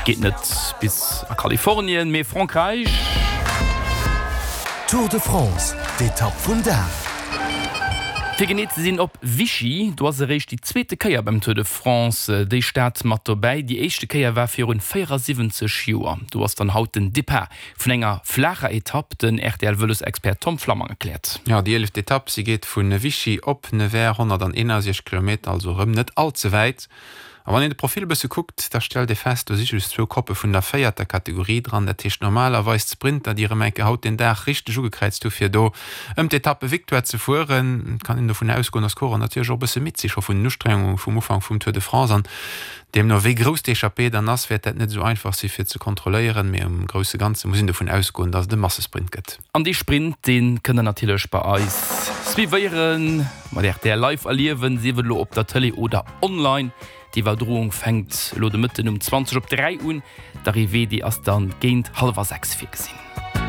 Geet net bis a Kalifornien, mee Frankräich. Tour de France, d'Etapp vum Dag. Fir genee ze sinn op Vichy. Do ass eréischt déi zweete Kéier beim Tour de France déi Stad mat dobäi. Déi éischte Kéier war virun 74 Joer. Do ass dann haut den Depart vun enger flaacher Etapp. Den RTL-Vëlosexpert Tom Flammang erkläert. Jo, déi eeleft Etapp, si geet vu Vichy op Nevers, 161 Kilometer, also erëm net all ze wäit. A wann een de Profil e bësse kuckt, da stellt ee fest, do si just zwou Koppe vun der véierter Kategorie dran. Dat heescht normalerweis d'Sprinter, déi erëm eng Kéier haut den Dag richteg ugekräizt hu fir do ëm d'Etappe-Victoire ze fueren. Et kann een dovun ausgoen, datt d'Coureuren natierlech och e bësse midd si scho vun den Ustrengunge vum Ufank vum Tour de France. An deemno wéi grouss d'Echappée dann ass, wäert dat net esou einfach si fir ze kontrolléieren. Mee um grousse Ganze muss een dovun ausgoen, datt et e Massesprint gëtt. An dee Sprint, dee kënnt der natierlech bei eis suivéieren, mat rtl Live erliewen, sief et elo op der Tëlee oder online. D'Iwwerdroung fänkt elo de Mëtten um 20 op 3 un, d'Arrivée, déi ass dann géint hallwer 6 virgesinn.